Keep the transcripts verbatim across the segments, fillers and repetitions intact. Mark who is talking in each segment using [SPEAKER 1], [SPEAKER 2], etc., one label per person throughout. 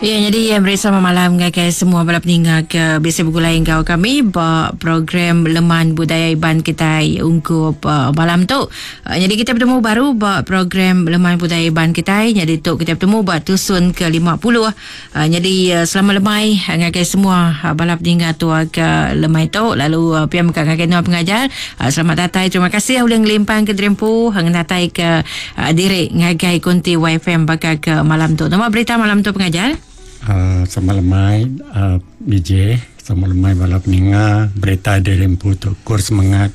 [SPEAKER 1] Ya, jadi ya, beri selamat malam ngagai semua bala peninga ke biasa bergulai enggau kami ba program Leman Budaya Iban kita ungkup uh, malam tu. Uh, jadi kita bertemu baru ba program Leman Budaya Iban kita. Jadi tu kita bertemu ba tusun ke lima puluh. Uh, jadi uh, selamat lemai ngagai semua uh, bala peninga tua ke lemai tu. Lalu uh, piam ka ngagai nuan pengajar. Uh, selamat datang. Terima kasih udah ngelimpang ke Dreampu, ngatai ke uh, diri ngagai konti Y F M bakal ke malam tu. Nama berita malam tu pengajar?
[SPEAKER 2] Uh, sama lemai uh, B J, sama lemai bala peninga berita dari Rempu tu kur semangat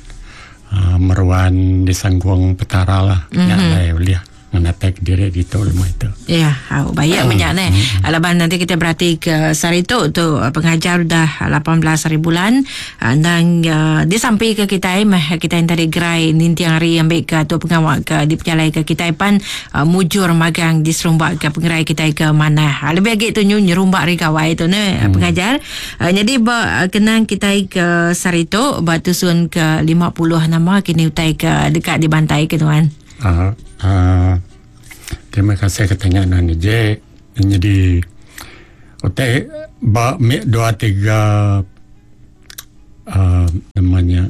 [SPEAKER 2] uh, meruan di sangguang petara lah mm-hmm. Nyak lai uliah menatek diri di tu lemai tu.
[SPEAKER 1] Ya, yeah, baik banyak ni. Alaban nanti kita berarti ke sehari tu tu pengajar dah lapan belas hari bulan dan uh, dia sampai ke kita mah kita yang tadi gerai nintiang hari ambil ke tu pengawal ke di pejalai ke kita pan uh, mujur magang di serumbak ke pengerai kita ke mana. Lebih lagi tu nyerumbak ri gawai tu ne hmm. pengajar. Uh, jadi ba kenang kita ke sehari tu ba tusun ke lima puluh nama kini utai ke dekat di bantai ke tuan.
[SPEAKER 2] Ah uh, uh, terima kasih katanya Nani J. Jadi ote ba dua tiga uh, namanya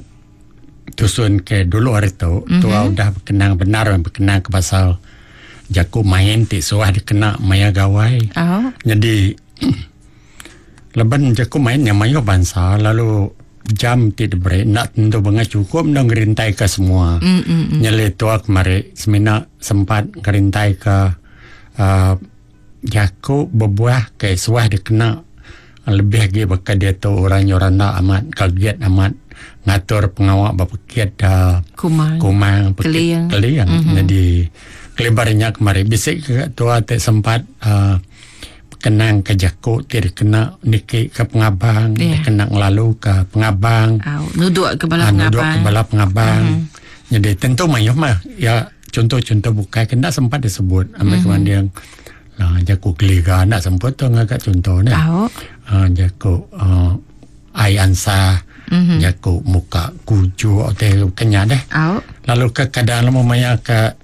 [SPEAKER 2] tusun ke dulu hari tu mm-hmm. tua udah berkenang benar berkenang ke pasal jaku main ti suah dikena maya gawai.
[SPEAKER 1] Oh.
[SPEAKER 2] Jadi leban jaku main yang mayo bangsa lalu jam ti diberi nak tentu benga cukup nak ngerintai ke semua.
[SPEAKER 1] Mm, mm, mm.
[SPEAKER 2] Nyele tua kemari semina sempat ngerintai ke uh, jaku berbuah ke suah dikena lebih lagi bakal dia tu orang yoranda amat kaget amat ngatur pengawak berpekit uh,
[SPEAKER 1] kumang
[SPEAKER 2] kumang pekit
[SPEAKER 1] keliang,
[SPEAKER 2] keliang.
[SPEAKER 1] Mm-hmm.
[SPEAKER 2] Jadi kelebarnya kemari bisik ke tua tak sempat uh, kenang ke jaku ti dikena niki ke pengabang
[SPEAKER 1] yeah.
[SPEAKER 2] Dikena ngelalu ke pengabang
[SPEAKER 1] oh, nuduk ke bala
[SPEAKER 2] ha,
[SPEAKER 1] pengabang
[SPEAKER 2] nuduk ke bala pengabang
[SPEAKER 1] mm-hmm.
[SPEAKER 2] Jadi tentu mayuh mah ya contoh-contoh bukai kena sempat disebut ambil
[SPEAKER 1] mm-hmm.
[SPEAKER 2] kemanding lah jaku keliga nak sempat tu ngagak contoh ni
[SPEAKER 1] oh.
[SPEAKER 2] Ha, jaku uh, ai ansa
[SPEAKER 1] mm-hmm.
[SPEAKER 2] jaku muka kuju atau kenya deh
[SPEAKER 1] oh.
[SPEAKER 2] Lalu ke kadang lama maya ke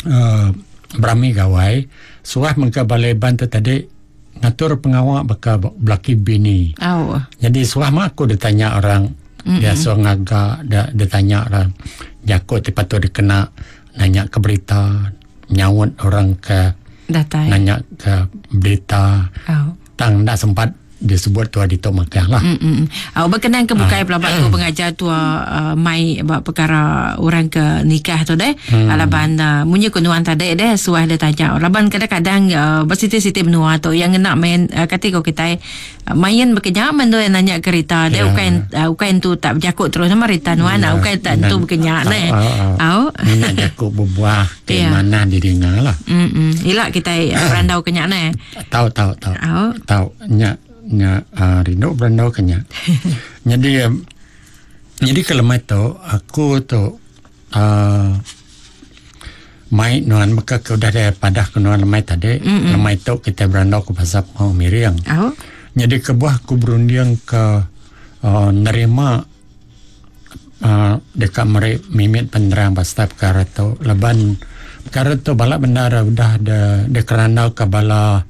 [SPEAKER 2] uh, berami gawai suah mengka balai ban tu tadi ngatur pengawak bakal belaki bini.
[SPEAKER 1] Oh.
[SPEAKER 2] Jadi suah mah aku ditanya orang
[SPEAKER 1] mm-hmm.
[SPEAKER 2] dia suah ngagak dia ditanya orang jakut ti patut dikena nanya ke berita nyaut orang ke
[SPEAKER 1] datai
[SPEAKER 2] nanya ke berita.
[SPEAKER 1] Oh.
[SPEAKER 2] Tang tak sempat disebut tua di tok makah lah.
[SPEAKER 1] Mm-mm. Uh, berkenaan ke bukai
[SPEAKER 2] Ah.
[SPEAKER 1] pelabak tu pengajar tua uh, mai buat perkara orang ke nikah tu deh.
[SPEAKER 2] Hmm.
[SPEAKER 1] Alaban uh, munyi kunuan tadi deh suah dia tanya. Laban kadang-kadang uh, bersiti-siti menua tu yang nak main uh, kata kau kita uh, main berkenyam tu yang nanya kereta deh
[SPEAKER 2] Ya.
[SPEAKER 1] ukain uh, ukain tu tak berjakut terus sama rita nuan
[SPEAKER 2] Ya.
[SPEAKER 1] yeah. ukain tak tu berkenyak deh.
[SPEAKER 2] Ah,
[SPEAKER 1] Au.
[SPEAKER 2] Nak jakut berbuah ke
[SPEAKER 1] Ya.
[SPEAKER 2] mana didengar lah.
[SPEAKER 1] Mm-mm. Ilak kita uh, berandau kenyak neh.
[SPEAKER 2] Tahu tahu tahu.
[SPEAKER 1] Au.
[SPEAKER 2] Tahu nya nya uh, rindu berandau kenya. Jadi um, jadi kelemah tu aku tu uh, mai nuan maka ke udah ada padah ke nuan lemai tadi
[SPEAKER 1] Mm-mm.
[SPEAKER 2] lemai tu kita berandau ke pasal mau miriang.
[SPEAKER 1] Au.
[SPEAKER 2] Jadi kebuah aku berundiang ke uh, nerima uh, dekat mere mimit penerang pasal perkara tu leban perkara tu balak benar udah ada dekerandau ke bala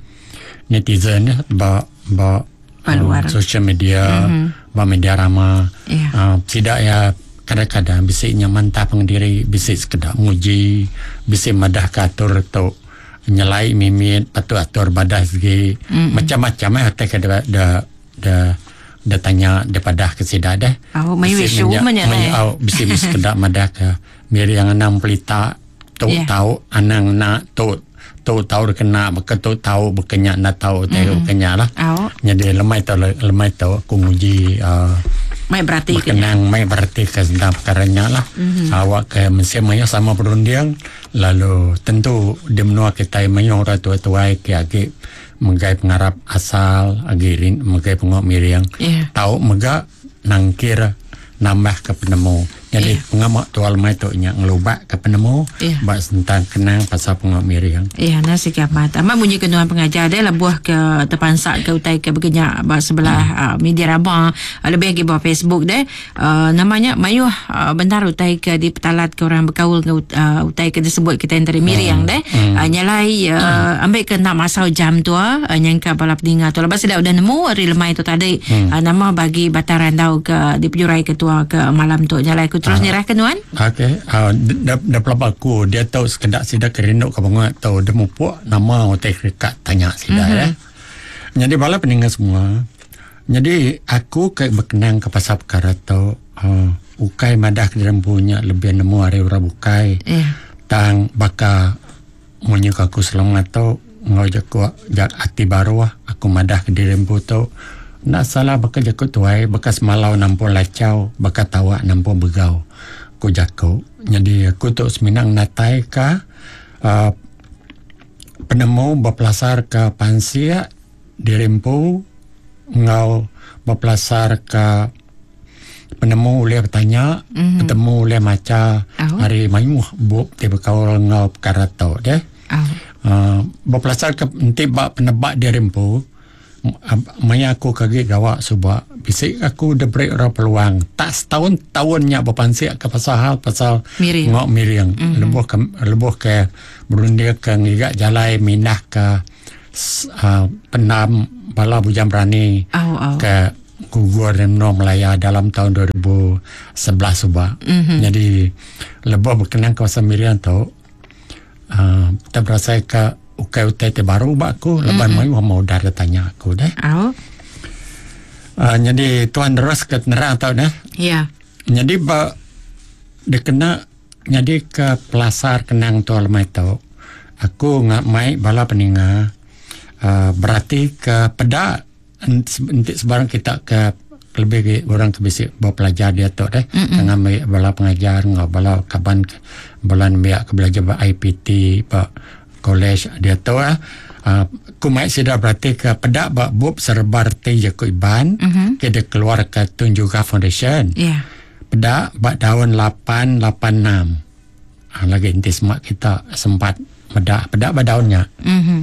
[SPEAKER 2] netizen ya ba ba
[SPEAKER 1] Paluar.
[SPEAKER 2] uh, social media
[SPEAKER 1] Mhm.
[SPEAKER 2] ba media rama
[SPEAKER 1] Ya.
[SPEAKER 2] uh, tidak ya kadang-kadang bisiknya mantap pengdiri bisik sekedar muji bisik madah katur tu nyelai mimit patu atur badah segi
[SPEAKER 1] Mm-mm.
[SPEAKER 2] macam-macam eh hotel ke da da da da tanya daripada ke sida dah
[SPEAKER 1] Au, mai
[SPEAKER 2] Bisik
[SPEAKER 1] wisu
[SPEAKER 2] minyak-
[SPEAKER 1] banyak
[SPEAKER 2] mai-
[SPEAKER 1] dah.
[SPEAKER 2] au, bisik sekedar madah ke miri yang enam pelita tu
[SPEAKER 1] Ya.
[SPEAKER 2] tahu anang nak tu tu tahu kena beke tu tahu bekenyak nak tahu teh bekenyak lah.
[SPEAKER 1] Au.
[SPEAKER 2] Jadi lemai tu lemai tu aku nguji uh,
[SPEAKER 1] Mai berarti kenya.
[SPEAKER 2] berkenang mai berarti ke tentang perkaranya lah.
[SPEAKER 1] Mhm.
[SPEAKER 2] Mm-hmm. Awak ke mesti mayo sama perundiang lalu tentu di menua kita mayo orang tua-tua ke agi megai pengarap asal agi rin megai pengok miriang.
[SPEAKER 1] Ya.
[SPEAKER 2] Tahu mega nangkir nambah ke penemu. Jadi
[SPEAKER 1] yeah.
[SPEAKER 2] pengamak tual mai tu nya ngelubak ke penemu
[SPEAKER 1] yeah.
[SPEAKER 2] bak tentang kenang pasal pengamak miring.
[SPEAKER 1] Ya, yeah, nasi kiamat. Amat bunyi kenuan pengajar dia lebuh ke terpansak ke utai ke berkenyak bak sebelah hmm. uh, media rama uh, lebih lagi bawah Facebook deh. Uh, namanya mayuh uh, bentar utai ke di petalat ke orang berkaul ke uh, utai ke disebut kita yang dari miring hmm. deh. Hmm. Uh, nyalai uh, hmm. ambil ke nak masau jam tua uh, nyangka bala peninga tu. Lepas sudah udah nemu hari lemai tu tadi hmm. uh, nama bagi Batang Randau ke dipejurai ketua ke malam tu. Nyalai aku terus uh, nyerah ke nuan.
[SPEAKER 2] Okey, uh, dah dah pelaba aku dia tahu sekedak sida kerinduk ke bangat tau dia mupuk nama utai kerekat tanya sida mm-hmm. ya. Jadi bala peninga semua. Jadi aku ke berkenang ke pasal perkara tu uh, ukai madah ke dalam punya lebih nemu hari orang bukai.
[SPEAKER 1] Yeah.
[SPEAKER 2] Tang baka munyi aku selama tu ngau jaku jak hati baru aku madah ke diri empu tu nak salah baka jaku tuai bekas malau nampun lacau baka tawak nampun begau aku jaku. Jadi aku tu seminang natai ka uh, penemu berpelasar ke pansia diri empu ngau berpelasar ke penemu oleh bertanya mm-hmm. bertemu oleh maca
[SPEAKER 1] oh.
[SPEAKER 2] hari mayuh bub ti berkaul ngau perkara tu deh.
[SPEAKER 1] Oh.
[SPEAKER 2] Uh, berpelasar ke enti bak penebak diri empu maya aku kagi gawak subak bisik aku diberi orang peluang tak setahun tahunnya berpansik ke pasal hal pasal
[SPEAKER 1] miring.
[SPEAKER 2] Ngok miring
[SPEAKER 1] mm-hmm.
[SPEAKER 2] lebuh ke lebuh ke berundia ke ngigak jalai minah ke uh, penam bala bujang berani
[SPEAKER 1] oh, oh.
[SPEAKER 2] ke gugur Remno Melaya dalam tahun dua ribu sebelas subak
[SPEAKER 1] mm-hmm.
[SPEAKER 2] Jadi lebuh berkenaan kawasan miring tu uh, kita berasa ke ukai utai te baru bak aku leban
[SPEAKER 1] mm-hmm.
[SPEAKER 2] mayu mau dah tanya aku deh.
[SPEAKER 1] Oh.
[SPEAKER 2] Uh, jadi tuan terus ke nerang tau deh.
[SPEAKER 1] Ya.
[SPEAKER 2] Yeah. Jadi ba dia kena jadi ke pelasar kenang tu lemai tu. Aku ngak mai bala peninga uh, berarti ke pedak enti sebarang kita ke lebih ke orang ke bisi bawa pelajar dia tu deh.
[SPEAKER 1] Mm-hmm.
[SPEAKER 2] Ngambil bala pengajar ngau bala kaban bala nembiak ke belajar ba I P T ba college dia tu ah uh, ku mai sida berarti ke pedak ba bub serba reti jaku Iban
[SPEAKER 1] mm-hmm.
[SPEAKER 2] ke dia keluar ke Tun Jugah Foundation.
[SPEAKER 1] Ya. Yeah.
[SPEAKER 2] Pedak ba tahun lapan lapan enam. Ah, lagi inti semak kita sempat pedak pedak ba daunnya.
[SPEAKER 1] Mm-hmm.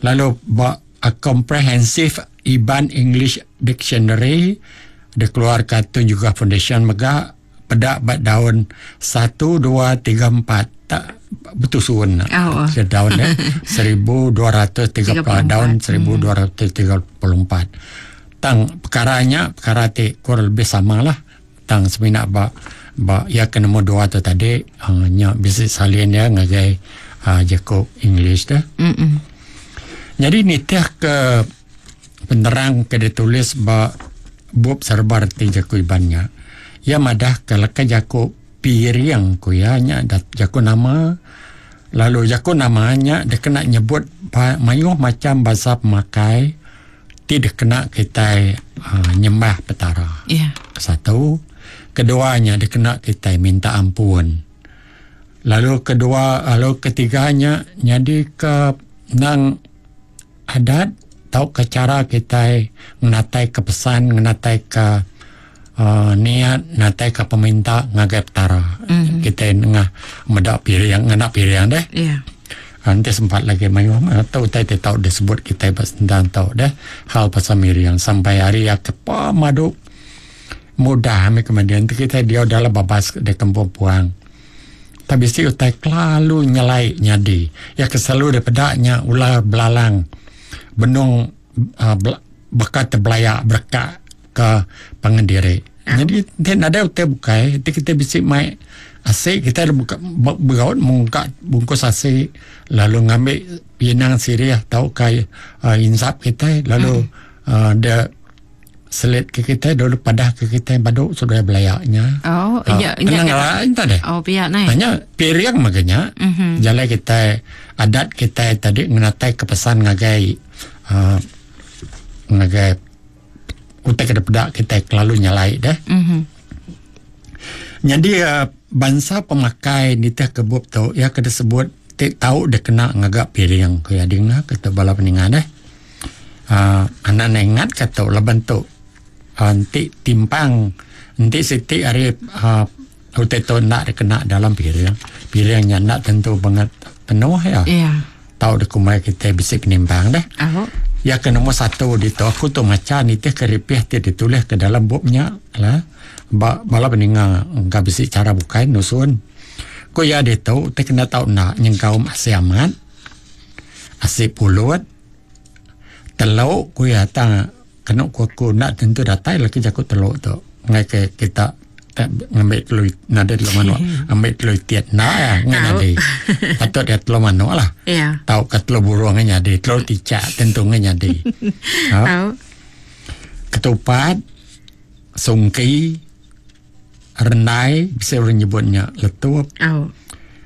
[SPEAKER 2] Lalu ba a comprehensive Iban English Dictionary dia keluar ke Tun Jugah Foundation mega pedak ba daun satu dua tiga empat tak betul suun
[SPEAKER 1] oh, oh.
[SPEAKER 2] daun eh seribu dua ratus tiga puluh daun seribu dua ratus tiga puluh empat tang perkaranya perkara ti kurang lebih sama lah tang semina ba ba ya ke nombor dua tu tadi uh, nya bisi salin dia ngagai uh, Jacob English dah.
[SPEAKER 1] Mm-mm.
[SPEAKER 2] Jadi nitih ke penerang ke ditulis ba bub serba reti jaku Ibannya ya madah ke leka jaku piring ku ya nya jaku nama lalu jaku namanya dia kena nyebut mayuh macam bahasa pemakai ti dia kena kita uh, nyembah petara.
[SPEAKER 1] Yeah.
[SPEAKER 2] Satu, keduanya dia kena kita minta ampun. Lalu kedua, lalu ketiganya jadi ke nang adat tau ke cara kita ngenatai ke pesan, ngenatai ke Uh, niat natai ke peminta ngagai petara.
[SPEAKER 1] Mm-hmm.
[SPEAKER 2] Kita ngah medak piring, ngena piring deh.
[SPEAKER 1] Yeah.
[SPEAKER 2] Nanti sempat lagi mayu atau utai te tau disebut kita pas tentang tau deh hal pasal miring sampai hari ya kepa madu mudah ame kemudian kita dia dalam babas de kampung puang. Tapi si utai kelalu nyelai nyadi. Ya keselalu daripadanya ular belalang benung uh, bekat terbelayak berkak ke pangan diri. Jadi tidak ada utai bukai, kita, kita bisik mai asik, kita ada buka bergaut mungka bungkus asik, lalu ngambil pinang sirih tau kai uh, insap kita, lalu
[SPEAKER 1] hmm.
[SPEAKER 2] uh, dia selit ke kita dulu padah ke kita baduk sudah belayaknya.
[SPEAKER 1] Oh,
[SPEAKER 2] uh,
[SPEAKER 1] ya, ya.
[SPEAKER 2] Lah, entah deh.
[SPEAKER 1] Oh, pihak naik.
[SPEAKER 2] Hanya piring makanya.
[SPEAKER 1] Mm-hmm.
[SPEAKER 2] Jalan kita adat kita tadi ngenatai ke pesan ngagai uh, ngagai utai ke pedak kita kelalu nyalai deh.
[SPEAKER 1] Mm-hmm.
[SPEAKER 2] Jadi uh, bangsa pemakai nitih kebub tu ya kena sebut tik tahu dia kena ngagak piring ke ading lah kata bala peningan deh. Uh, anak ingat kata laban tu uh, entik timpang entik sitik hari uh, Utai tu nak dikena dalam piring. Piringnya nak tentu banget penuh ya.
[SPEAKER 1] Iya.
[SPEAKER 2] Tau dikumbai kita bisi penimbang deh.
[SPEAKER 1] Oh.
[SPEAKER 2] Ya ke nombor satu di tu aku tu maca nitih ke ripih ti ditulis ke dalam bubnya lah. Ba bala peninga engka bisi cara bukai nusun. Ku ya ditu te kena tau nak nyengkaum asi amat. Asi pulut. Teluk ku ya tang kena ku aku nak tentu datai lagi jaku teluk tu. Ngai ke kita tak ngambil telur nada telur manuk ambil telur tiat nak ya ngai nyadi. Patut dia telur manuk lah.
[SPEAKER 1] Ya.
[SPEAKER 2] Tau ke telur burung ngai nyadi, telur ticak tentu ngai nyadi. Ha.
[SPEAKER 1] Tau.
[SPEAKER 2] Ketupat, sungki, rendai, bisa orang nyebutnya letup.
[SPEAKER 1] Oh.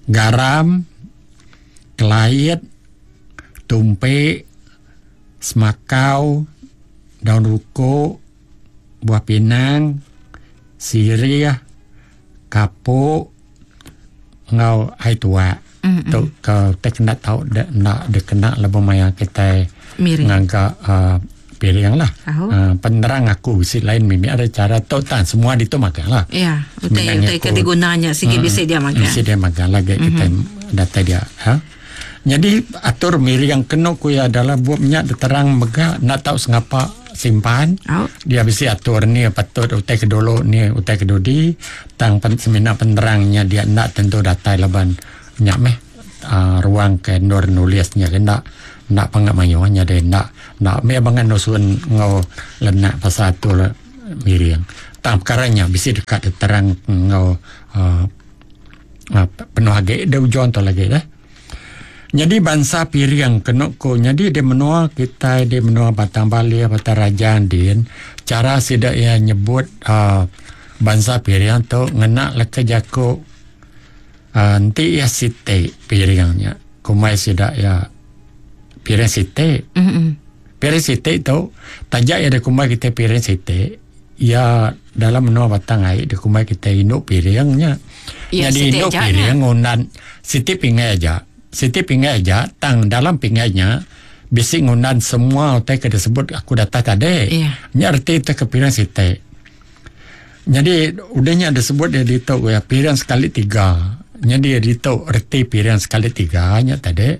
[SPEAKER 2] Garam, kelait, tumpik, semakau, daun ruko, buah pinang, sirih, kapuk, ngau air tua.
[SPEAKER 1] Mm-mm.
[SPEAKER 2] Tu ke tek nak tahu de, nak dikena lebuh maya kita
[SPEAKER 1] Miring.
[SPEAKER 2] ngangka uh, piring lah.
[SPEAKER 1] Oh.
[SPEAKER 2] Uh, penerang aku si lain mimi ada cara tu tan semua itu makan lah.
[SPEAKER 1] Ya, utai
[SPEAKER 2] Sebenarnya
[SPEAKER 1] utai
[SPEAKER 2] aku-
[SPEAKER 1] ke digunanya sigi bisi dia makan.
[SPEAKER 2] Bisi dia makan lagi kita data dia. Ha? Jadi atur miring kena ku ya adalah buat minyak terang mega nak tahu sengapa simpan.
[SPEAKER 1] Oh.
[SPEAKER 2] Dia bisi atur ni patut utai ke dulu ni utai ke dudi tang pen, semina penerangnya dia nak tentu datai laban minyak meh uh, ruang ke nur nulisnya ke nak nak pangat mayuhnya dia nak nak me bangan nusun ngau lenak pasal atur miring. Tang perkaranya bisi dekat terang ngau uh, uh, penuh agi dia ujon tu lagi dah. Jadi bangsa piring kena ko jadi di menua kita di menua Batang Bali Batang Rajang din cara sidak ia nyebut uh, bangsa piring tu ngena leka jako uh, nanti ia site piringnya kumai sidak ia piring site.
[SPEAKER 1] Mm-mm.
[SPEAKER 2] Piring site tu tajak ia kumai kita piring site ia dalam menua Batang Ai di kumai kita induk piringnya.
[SPEAKER 1] Ya,
[SPEAKER 2] Jadi
[SPEAKER 1] site
[SPEAKER 2] induk
[SPEAKER 1] aja
[SPEAKER 2] piring ngundan site pingai aja. Siti pingai aja, tang dalam pingainya bisi ngundan semua utai ke disebut aku data tadi.
[SPEAKER 1] Iya.
[SPEAKER 2] Nya erti te ke piring siti. Jadi udahnya disebut dia ditu ya piring sekali tiga. Jadi dia ditu erti piring sekali tiga nya tadi.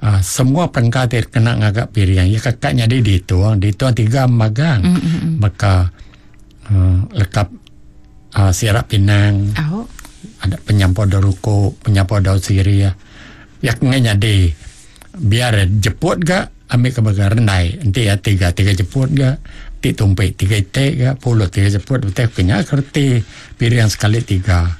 [SPEAKER 2] Uh, semua perengka te kena ngagak piring. Ya kakaknya dia ditu, ditu tiga magang.
[SPEAKER 1] Mm-mm.
[SPEAKER 2] Maka uh, lekap uh, sirap pinang.
[SPEAKER 1] Oh.
[SPEAKER 2] Ada penyampau daun ruko, penyampau daun sirih. Ya kena jadi biar jeput ga ambil ke bagian rendai nanti ya tiga tiga jeput ga ti tumpik tiga itik ga puluh tiga jeput betul kena kerti piring sekali tiga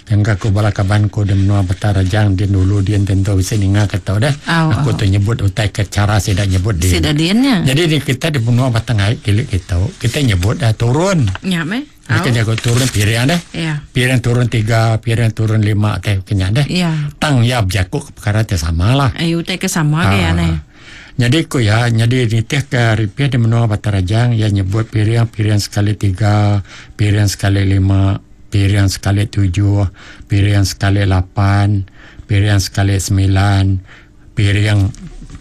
[SPEAKER 2] yang aku bala kaban ku di menua Batang Rajang dia dulu dia tentu bisa ninga kata dah
[SPEAKER 1] Au,
[SPEAKER 2] aku
[SPEAKER 1] au.
[SPEAKER 2] tu nyebut utai ke cara saya dah nyebut dia
[SPEAKER 1] Sida diannya.
[SPEAKER 2] jadi di, kita di menua Batang Ai kilik kita kita nyebut dah turun
[SPEAKER 1] Ya meh.
[SPEAKER 2] mereka jago turun piring dah
[SPEAKER 1] Ya.
[SPEAKER 2] piring turun tiga piring turun lima teh kena dah
[SPEAKER 1] Ya.
[SPEAKER 2] tang ya berjakuk perkara teh sama lah.
[SPEAKER 1] Ayu utai ke sama ke ya
[SPEAKER 2] Ah.
[SPEAKER 1] ne.
[SPEAKER 2] Jadi ku ya, jadi nitih ke ripih di menua Batang Rajang ya nyebut piring piring sekali tiga, piring sekali lima, piring sekali tujuh, piring sekali lapan, piring sekali sembilan, piring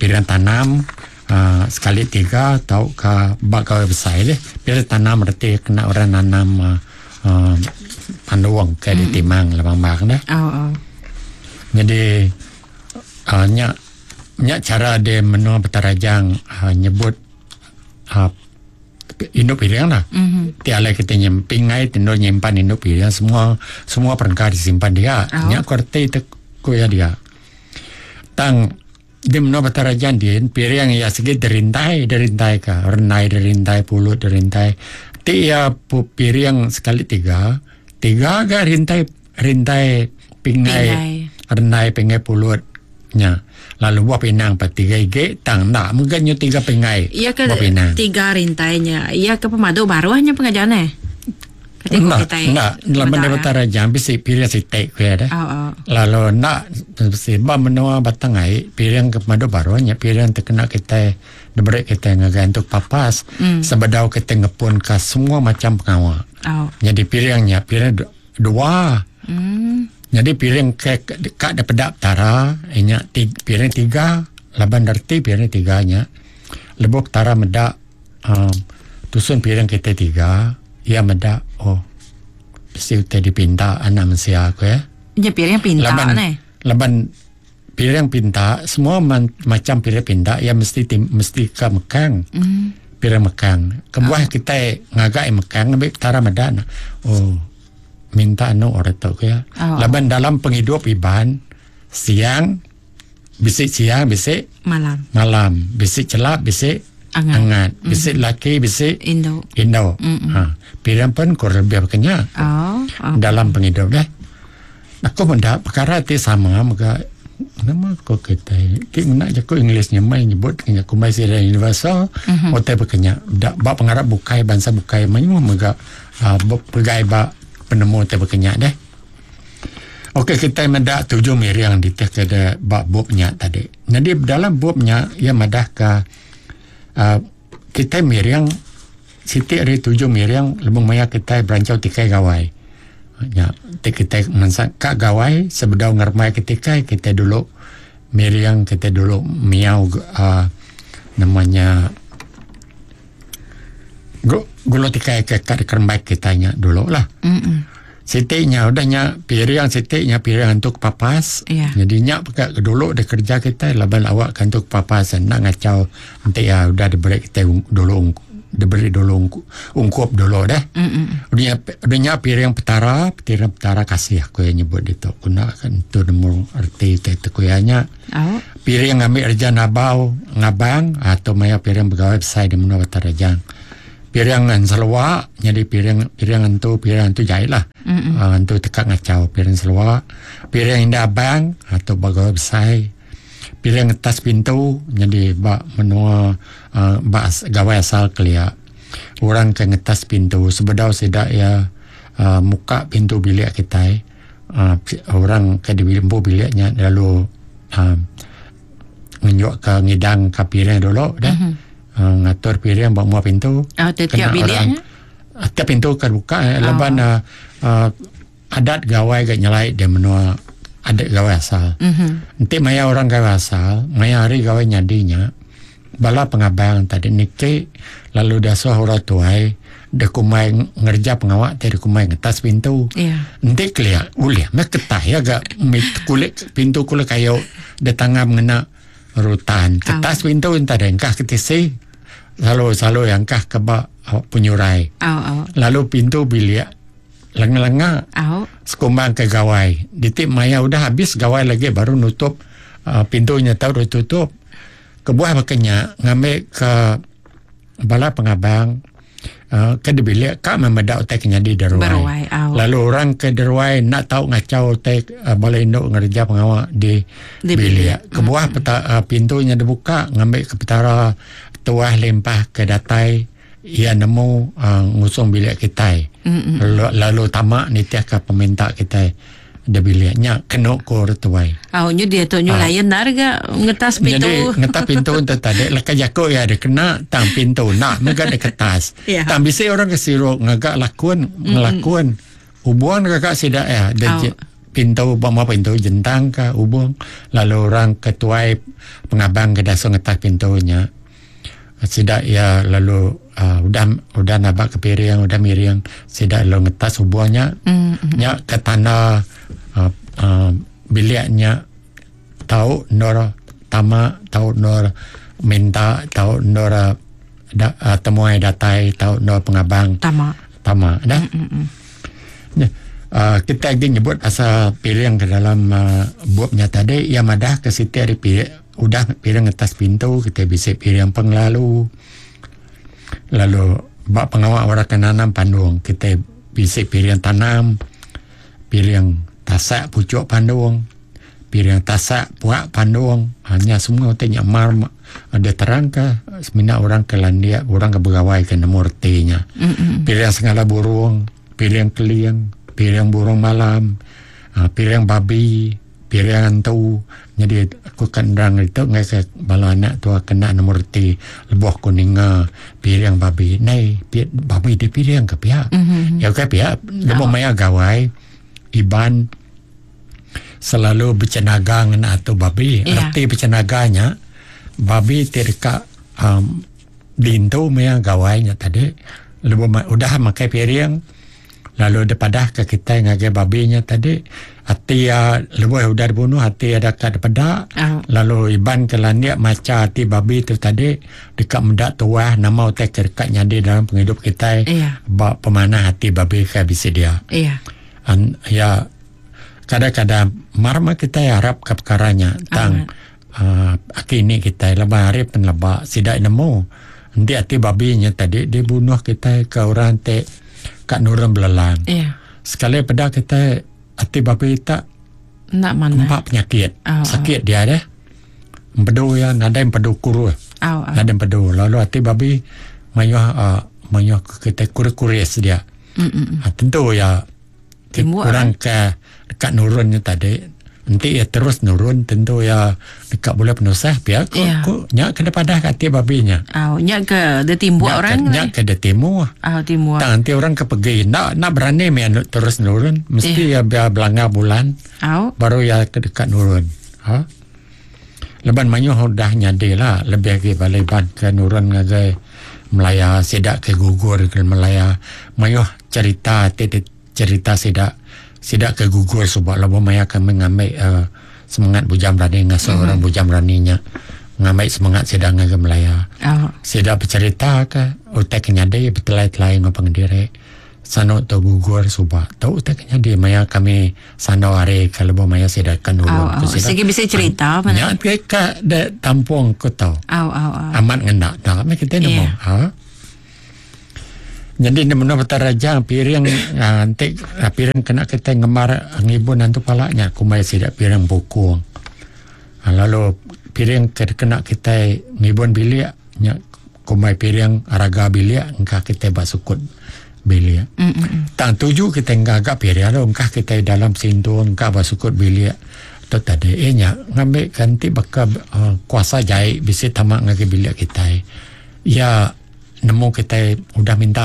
[SPEAKER 2] piring tanam uh, sekali tiga atau ke bak kau besar deh. Piring tanam berarti kena orang nanam uh, uh, panduang ke di timang lebang-bang dah.
[SPEAKER 1] Oh, oh.
[SPEAKER 2] Jadi uh, nyak nyak cara dia menua Batang Rajang uh, nyebut uh, induk piring lah.
[SPEAKER 1] Mhm.
[SPEAKER 2] Tiada kita nyemping ai tendo nyimpan induk piring semua semua perengka disimpan dia.
[SPEAKER 1] Oh.
[SPEAKER 2] Nyak kerti te ku ya dia. Tang di menua Batang Rajang dia piring ya segi derintai derintai ka renai derintai pulut derintai. Ti ya pu piring sekali tiga tiga ga rintai rintai pingai
[SPEAKER 1] Pingai.
[SPEAKER 2] renai pingai pulutnya. Lalu buah pinang pa tiga ige tang nak mungkin nyu tiga pingai.
[SPEAKER 1] Iya ke
[SPEAKER 2] buah pinang.
[SPEAKER 1] tiga rintainya. Iya ke pemadu baru hanya pengajian eh. Ketika
[SPEAKER 2] Nak,
[SPEAKER 1] kita
[SPEAKER 2] nak, laban dia Batang Rajang bisi piring sitik ku ya dah.
[SPEAKER 1] Oh, oh.
[SPEAKER 2] Lalu nak bisi ba menua Batang Ai piring ke pemadu baru nya piring terkena kita diberi kita ngagai untuk papas
[SPEAKER 1] Mm.
[SPEAKER 2] sebedau kita ngepun ke semua macam pengawal.
[SPEAKER 1] Oh.
[SPEAKER 2] Jadi piringnya piring du- dua.
[SPEAKER 1] Hmm.
[SPEAKER 2] Jadi piring ke kat daripada tara inya ti, piring tiga laban derti piring tiga nya. Lebok tara medak um, tusun piring kita tiga ia medak oh Mesti utai dipinta anak mensia aku ya.
[SPEAKER 1] Ya piring pinta
[SPEAKER 2] laban,
[SPEAKER 1] ne.
[SPEAKER 2] Laban piring pinta semua man, macam piring pinta ya mesti tim, mesti ke mekang.
[SPEAKER 1] Mm.
[SPEAKER 2] Piring mekang. Kebuah oh. kita ngagak mekang ambil petara medan. Oh minta anu orang tu ya.
[SPEAKER 1] Oh.
[SPEAKER 2] Laban dalam penghidup Iban siang bisik siang bisik
[SPEAKER 1] malam.
[SPEAKER 2] Malam bisik celap bisik
[SPEAKER 1] angat,
[SPEAKER 2] angat. Bisik mm. laki bisik
[SPEAKER 1] indo.
[SPEAKER 2] Indo. Ha. Piring pun kurang lebih kenya.
[SPEAKER 1] Oh, oh.
[SPEAKER 2] Dalam penghidup dah. Aku mendak perkara ti sama maka nama ko kita ti nak jaku Inggerisnya mai nyebut kenya kumai sira universal mm-hmm. Otai berkenya dak bab pengarap bukai bangsa bukai mayuh mega uh, pegai ba penemu te berkenya deh. Okey kita mendak tujuh miring di teh ke bab bobnya tadi. Jadi dalam bobnya ia madah ke uh, kita miring siti hari tujuh miring lebih maya kita berancau tikai gawai. Ya, kita mensak kak gawai sebedau ngermai ketika kita dulu miring kita dulu miau uh, namanya gulo tikai ke kat kermai kitanya dulu lah.
[SPEAKER 1] Mm-mm.
[SPEAKER 2] Sitiknya udahnya piring sitiknya piring untuk papas.
[SPEAKER 1] Yeah.
[SPEAKER 2] Jadi nyak pakai dulu dia kerja kita laban awak kan untuk papas nak ngacau nanti ya udah diberi kita dulu diberi dulu ungkup dulu deh. Udahnya udahnya piring petara, piring petara kasih aku yang nyebut itu. Kuna kan tu nemu arti itu kuyanya.
[SPEAKER 1] Oh.
[SPEAKER 2] Piring ambil reja nabau ngabang atau maya piring pegawai besar di menua Batarajang. Piring selwa jadi piring piring entu piring entu jahit lah. Uh, entu tekak ngacau piring selwa. Piring indah abang atau pegawai besar. Piring atas pintu jadi bak menua uh, bak gawai asal kelia. Orang ke ngetas pintu sebedau sedak ya uh, muka pintu bilik kita. Uh, orang ke di bilik biliknya lalu uh, ngenyok ke ngidang ke piring dulu dah.
[SPEAKER 1] Mm-hmm.
[SPEAKER 2] Uh, ngatur piring bak mua pintu.
[SPEAKER 1] Oh, tiap biliknya.
[SPEAKER 2] Tiap pintu kan buka eh,
[SPEAKER 1] Oh.
[SPEAKER 2] Laban uh, uh, adat gawai gak nyelai dia menua adat gawai asal.
[SPEAKER 1] Mm-hmm.
[SPEAKER 2] Nanti maya orang gawai asal, maya hari gawai nyadinya, bala pengabang tadi niki lalu dasuh orang tuai dekumai ngerja pengawak tadi dekumai ngetas pintu.
[SPEAKER 1] Yeah.
[SPEAKER 2] Nanti kelia ulih mek ketah ya gak kulit pintu kulit kayu datangam ngena rutan. Ketas
[SPEAKER 1] Oh.
[SPEAKER 2] pintu entah dengkah ketisi. Selalu selalu yang kah kebak penyurai.
[SPEAKER 1] Oh, oh.
[SPEAKER 2] Lalu pintu bilik lenga-lenga
[SPEAKER 1] oh.
[SPEAKER 2] Sekumbang ke gawai. Ditik maya udah habis gawai lagi baru nutup uh, pintunya tahu udah tutup. Kebuah makanya ngambil ke bala pengabang uh, ke di bilik kak memedak utai kenya di deruai.
[SPEAKER 1] Beruai, oh.
[SPEAKER 2] Lalu orang ke deruai nak tahu ngacau utai uh, bala induk ngerja pengawak di,
[SPEAKER 1] di
[SPEAKER 2] bilik. Kebuah
[SPEAKER 1] mm-hmm.
[SPEAKER 2] peta, uh, pintunya dibuka ngambil ke petara tuah lempah ke datai ia nemu uh, ngusung bilik kita.
[SPEAKER 1] Mm-mm.
[SPEAKER 2] Lalu, lalu tamak nitiah ke peminta kita di biliknya kena kor tuai.
[SPEAKER 1] Oh, nyu dia tu nyu
[SPEAKER 2] Ah.
[SPEAKER 1] lain nar ga ngetas pintu.
[SPEAKER 2] Jadi ngetas pintu untuk tadi leka jako ya ada kena tang pintu nak mega ada kertas.
[SPEAKER 1] Ya.
[SPEAKER 2] Tang bisi orang ke siruk ngagak lakun ngelakun hubungan kakak sidak ya dia
[SPEAKER 1] Oh.
[SPEAKER 2] je- pintu bama pintu jentang ke hubung lalu orang ketuai pengabang ke dasar ngetas pintunya. Sidak ya lalu uh, udah udah nabak ke piring udah miring sidak lalu ngetas hubungnya
[SPEAKER 1] Mm-mm.
[SPEAKER 2] nya ke tanah uh, uh, biliknya tahu nor tama tahu nor minta tahu nor da, uh, temuai datai tahu nor pengabang
[SPEAKER 1] Tama.
[SPEAKER 2] tama dah.
[SPEAKER 1] Mm-mm.
[SPEAKER 2] Ya, uh, kita lagi nyebut pasal piring ke dalam uh, buapnya tadi ia madah ke situ ada piring udah piring atas pintu kita bisa piring penglalu lalu bak pengawak orang nanam pandung kita bisa piring tanam piring tasak pucuk pandung piring tasak puak pandung hanya semua tanya mar ada terang ke semina orang ke landia orang ke begawai ke nemu ertinya.
[SPEAKER 1] Mm-mm.
[SPEAKER 2] Piring sengala burung, piring keliang, piring burung malam, uh, piring babi, piring hantu. Jadi aku kan rang itu ngai ke bala anak tua kena nemu reti lebuh kuninga piring babi. Nei, pi, babi di piring ke pihak.
[SPEAKER 1] Mm-hmm.
[SPEAKER 2] Ya ke pihak lebuh maya gawai Iban selalu bercenaga ngena atau babi.
[SPEAKER 1] Ya.
[SPEAKER 2] Erti bercenaganya babi tirka um, dintu maya gawainya tadi lebuh ma- udah makai piring Lalu dia ke kita ngagai babinya tadi hati ya lebuh udah dibunuh hati ada kat peda.
[SPEAKER 1] Oh.
[SPEAKER 2] Lalu iban ke landik maca hati babi tu tadi dekat mendak tuah nama utai ke dekat nyadi dalam penghidup kita.
[SPEAKER 1] Iya.
[SPEAKER 2] Ba pemanah hati babi ke bisi dia.
[SPEAKER 1] Iya.
[SPEAKER 2] An, ya kadang-kadang marma kita harap ke perkaranya tang uh, aki ni kita lepas hari penlebak sidak nemu nanti hati babinya tadi dibunuh kita ke orang te kat nurun belelang.
[SPEAKER 1] Iya.
[SPEAKER 2] Sekali pada kita hati babi tak
[SPEAKER 1] Nak mana?
[SPEAKER 2] empat penyakit.
[SPEAKER 1] Oh,
[SPEAKER 2] Sakit dia deh. Empedu ya nadai empedu kuru.
[SPEAKER 1] Oh, oh.
[SPEAKER 2] Nadai empedu. Lalu hati babi mayuh uh, mayuh kita kuris-kuris dia.
[SPEAKER 1] Mm-mm.
[SPEAKER 2] Ha, tentu ya
[SPEAKER 1] Timbul,
[SPEAKER 2] orang ke dekat nurunnya tadi nanti ya terus nurun tentu ya dekat boleh penusah pihak ku,
[SPEAKER 1] Ya.
[SPEAKER 2] ku nyak kena padah kat hati babinya.
[SPEAKER 1] Oh, nyak ke dia timbul
[SPEAKER 2] Nyak
[SPEAKER 1] orang.
[SPEAKER 2] ke, nyak ke dia timur.
[SPEAKER 1] Oh, timbul.
[SPEAKER 2] Tak nanti orang ke pergi nak nak berani mi anu terus nurun mesti ya biar belanggar bulan
[SPEAKER 1] Oh.
[SPEAKER 2] baru ya ke dekat nurun. Ha? Leban mayuh udah nyadi lah lebih lagi balai ban ke nurun ngagai Melaya sidak ke gugur ke Melaya mayuh cerita ti cerita sidak sidak ke gugur sebab labo maya kami ngambil uh, semangat bujang berani ngasuh mm-hmm. orang bujang beraninya ngambil semangat sidak ngagai Melaya.
[SPEAKER 1] Oh.
[SPEAKER 2] Sidak bercerita ke utai kenyadi bertelai-telai ngau pengendiri sano tu gugur subak tu utai kenyadi maya kami sano hari kalau maya sidak kan
[SPEAKER 1] Oh,
[SPEAKER 2] nurun
[SPEAKER 1] oh. Segi bisa cerita mana?
[SPEAKER 2] Ya, ke ka de tampung ku tau.
[SPEAKER 1] Oh, oh, oh.
[SPEAKER 2] Amat ngendak dah, yeah. kita nemu.
[SPEAKER 1] Ya.
[SPEAKER 2] Ha. Jadi ni menurut raja piring ah, nanti ah, piring kena kita ngemar ngibun nanti palaknya kumai sidak piring bukung. Ha, lalu piring ke kena kita ngibun bilik nya kumai piring raga bilik engkau kita basukut bilik.
[SPEAKER 1] Mm-mm.
[SPEAKER 2] Tang tuju kita enggak piring lalu engkau kita dalam sintung engkau basukut bilik tu tadi eh nya ngambil ganti baka uh, kuasa jahit bisi tamak ngagi bilik kita. Ya nemu kita udah minta